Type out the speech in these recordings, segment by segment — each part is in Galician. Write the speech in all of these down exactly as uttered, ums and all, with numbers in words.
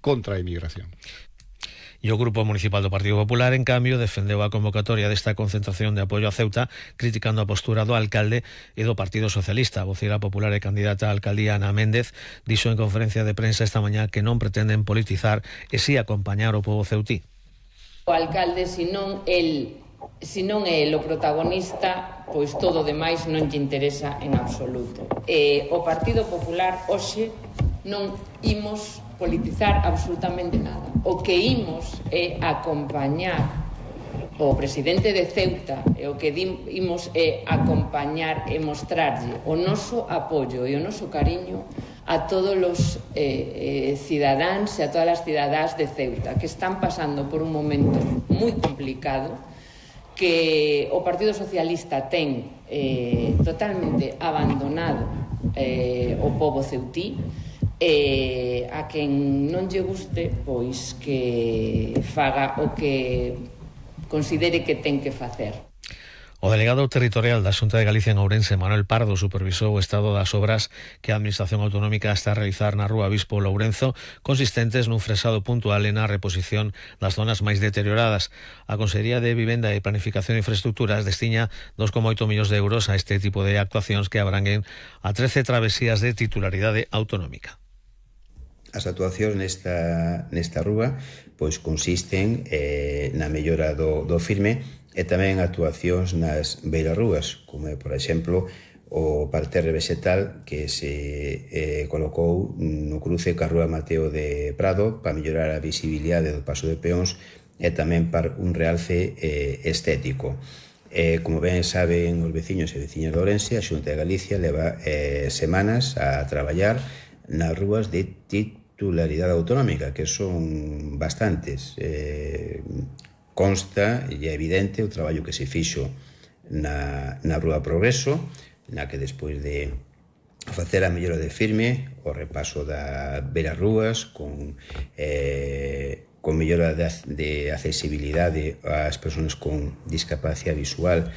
contra a emigración. E o Grupo Municipal do Partido Popular, en cambio, defendeu a convocatoria desta concentración de apoio a Ceuta, criticando a postura do alcalde e do Partido Socialista. A voceira popular e candidata á alcaldía, Ana Méndez, dixo en conferencia de prensa esta mañá que non pretenden politizar e si acompañar o pobo ceutí. O alcalde, se non el, se non é o protagonista, pois todo o demais non lle interesa en absoluto. E o Partido Popular hoxe non imos politizar absolutamente nada. O que imos é acompañar o presidente de Ceuta e o que imos é acompañar e mostrarlle o noso apoio e o noso cariño a todos os eh, eh, cidadáns e a todas as cidadás de Ceuta que están pasando por un momento moi complicado, que o Partido Socialista ten eh, totalmente abandonado eh, o pobo ceutí. E a quen non lle guste, pois que faga o que considere que ten que facer. O delegado territorial da Xunta de Galicia en Ourense, Manuel Pardo, supervisou o estado das obras que a Administración Autonómica está a realizar na Rúa Bispo Lourenzo, consistentes nun fresado puntual e na reposición das zonas máis deterioradas. A Consellería de Vivenda e Planificación e Infraestructuras destiña dos coma oito millóns de euros a este tipo de actuacións que abranguen a trece travesías de titularidade autonómica. As actuacións nesta, nesta rúa pois consisten eh, na mellora do, do firme e tamén actuacións nas beirarrúas, como é, por exemplo, o parterre vegetal que se eh, colocou no cruce ca Rúa Mateo de Prado para mellorar a visibilidade do paso de peóns e tamén para un realce eh, estético. Eh, como ben saben os veciños e veciñas de Ourense, a Xunta de Galicia leva eh, semanas a traballar nas rúas de titularidade autonómica, que son bastantes. Eh, consta e é evidente o traballo que se fixo na, na Rúa Progreso, na que despois de facer a mellora de firme, o repaso da beira rúas con, eh, con mellora de, de accesibilidade ás persoas con discapacidade visual,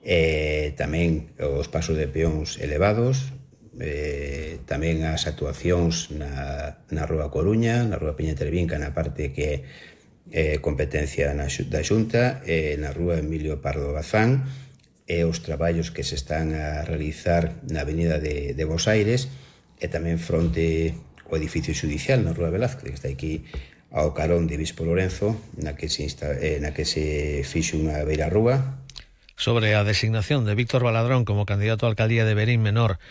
eh, tamén os pasos de peóns elevados, eh, tamén as actuacións na, na Rúa Coruña, na Rúa Peña Tervinca, na parte que é eh, competencia na, da Xunta, eh, na Rúa Emilio Pardo Bazán, e os traballos que se están a realizar na avenida de, de Bos Aires e tamén fronte ao edificio xudicial na Rúa Velázquez, que está aquí ao carón de Bispo Lourenzo, na que se, insta, eh, na que se fixe unha beira rúa. Sobre a designación de Víctor Baladrón como candidato á alcaldía de Verín Menor,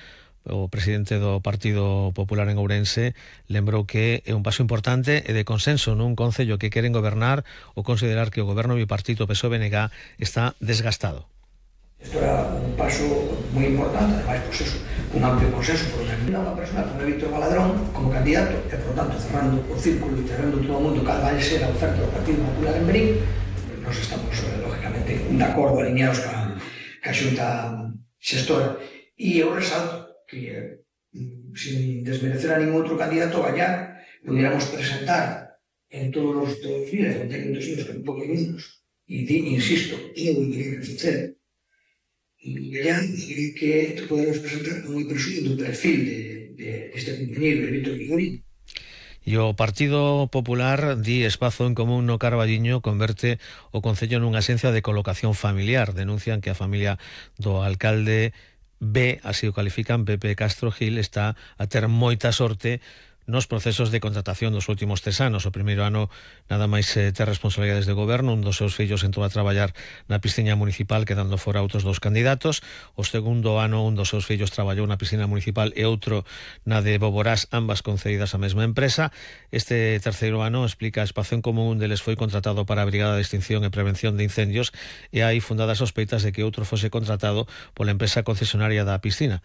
o presidente do Partido Popular en Ourense lembrou que é un paso importante e de consenso nun concello que queren gobernar ou considerar que o goberno bipartito P S O E B N G está desgastado. Isto era un paso moi importante, además, pues eso, un amplio consenso por unha persona como Víctor Baladrón como candidato e, por tanto, cerrando o círculo e cerrando todo o mundo cal vai ser a oferta do Partido Popular en Verín. Nos estamos, lógicamente, de acordo, alineados ca, ca xunta xestora. E eu resalto que, sin desmerecer a ningún outro candidato, allá pudiéramos presentar en todos os días, en técnicos años, que un pouco menos, e insisto, é o que queremos facer. E allá que podemos presentar moi presumido do perfil de, de, deste compañeiro, de Víctor Vigorín. E o Partido Popular di espazo en común no Carballiño converte o concello nunha axencia de colocación familiar. Denuncian que a familia do alcalde B, así o califican, Pepe Castro Gil, está a ter moita sorte nos procesos de contratación dos últimos tres anos. O primeiro ano nada máis eh, ter responsabilidades de goberno, un dos seus fillos entrou a traballar na piscina municipal quedando fora outros dos candidatos. O segundo ano un dos seus fillos traballou na piscina municipal e outro na de Boborás, ambas concedidas á mesma empresa. Este terceiro ano, explica Espazo en Común, un deles foi contratado para a Brigada de Extinción e Prevención de Incendios e hai fundadas sospeitas de que outro fose contratado pola empresa concesionaria da piscina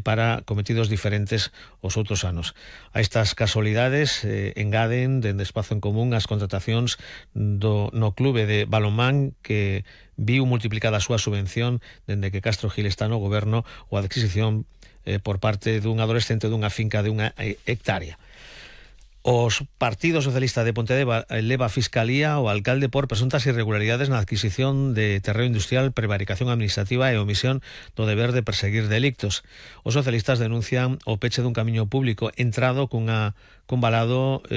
para cometidos diferentes os outros anos. A estas casualidades eh, engaden dende Espazo en Común as contratacións do, no clube de balonmán que viu multiplicada a súa subvención dende que Castro Gil está no goberno ou a adquisición eh, por parte dun adolescente dunha finca de unha hectárea. Os Partido Socialista de Pontedeva eleva a Fiscalía ao alcalde por presuntas irregularidades na adquisición de terreo industrial, prevaricación administrativa e omisión do deber de perseguir delictos. Os socialistas denuncian o peche dun camiño público entrado cunha, cun valado eh,